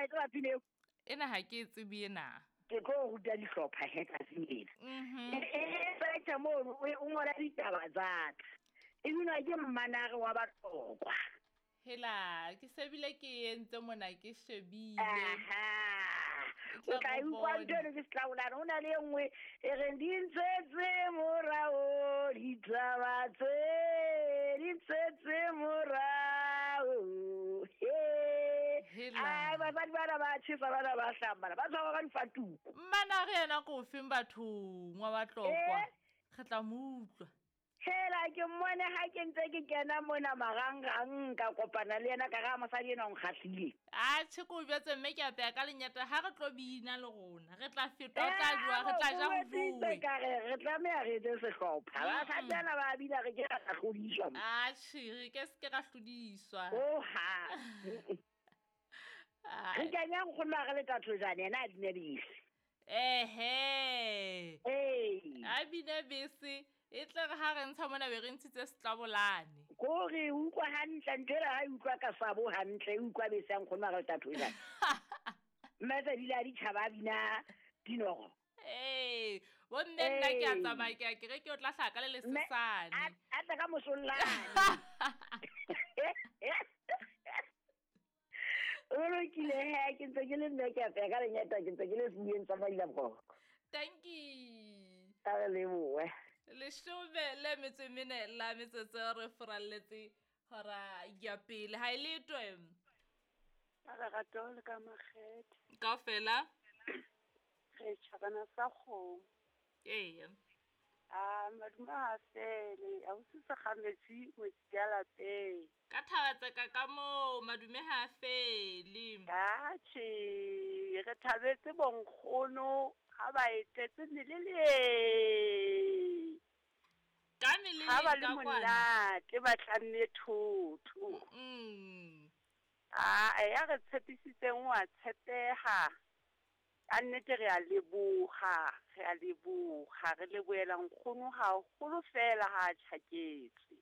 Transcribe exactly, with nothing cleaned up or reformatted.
Wa e tseba pina eo? Ena ha ke e tsebe ena. Ke tlo ruta dihlopha he tsatsing lena. Mhm. E search mono o ngola ditaba tsa ka. E binwa ke Mmanare wa Batlokwa. Hela, ke sebile ke entse mona ke shebile. Aha. E tla O tla go utlwa bona. ntho eno ke setlabolane. Ho na le e nngwe e reng di ntshetse morao ditaba tse, di ntshetse morao. He. Hela. Ai, basadi bana ba tjhesa, bana ba hlambana, ba tshwarwa ka difatuku. Mmanare yena ko feng bathong wa Batlokwa? Eh? Re tla mo utlwa. Hela, ke mmone ha ke ntse ke kena mona marangrang, ka kopana le yena ka re, ha mosadi enwa o nkgahlile. Atjhe, ke o jwetse mme ke apeya ka lenyata, ha re tlo bina le rona, re tla feta, o tla Eh, jowa, re tla ja ho o jwetsitse jowe. ka re, re tlameha re etse sehlopha. Mm-mm. Basadi bana ba bina, re ke ra hlodiswa. Atjhe, re ke se ke ra hlodiswa. Oh, ha. Ai. Re kenya nkgono ha re le Thathojane, yena a bine bese. Ehe. Ee. A bine bese, e tle re ha re ntsha mona be re ntshitse setlabolane. Kore o utlwa hantle, ntho ena ha e utlwa ka sabo hantle, e utlwa bese ya nkgono ha re le Thathojane. Mme tse di le ha ditjhaba a bina dinoro. Ee, bo mme nna ke a Ee. tsamaya, ke a ke re ke o tla hlaha ka le Mme, lesesane. a, a tla ka mosollane. O lokile he, ke ntse ke le mme ke apeya ka lenyata, ke ntse ke le sebueng sa Mailaboroko. Thank you. A re lebohe. Leshome le metso e mene la metsotso re furalletse hora ya pele. Ha e letwe. Ka lerato le ka makgethe. Kaofela. Re tjhabana sa kgomo. Eya. Ah, madume ha fele, ha o se sekgametsi ngwetsi ya lapeng. Ka thaba tseka ka moo, madume ha fele. Atjhe, re thabetse bonkgono ha ba etetse melele. Ka melele Ha ba le ka kwana. monate, ba tlamme thotho. Mm. Ah, ya re tshepisitseng wa tshepeha. Ka nnete re a leboha, re a leboha, re lebohela nkgono haholo fela ha a tjhaketse.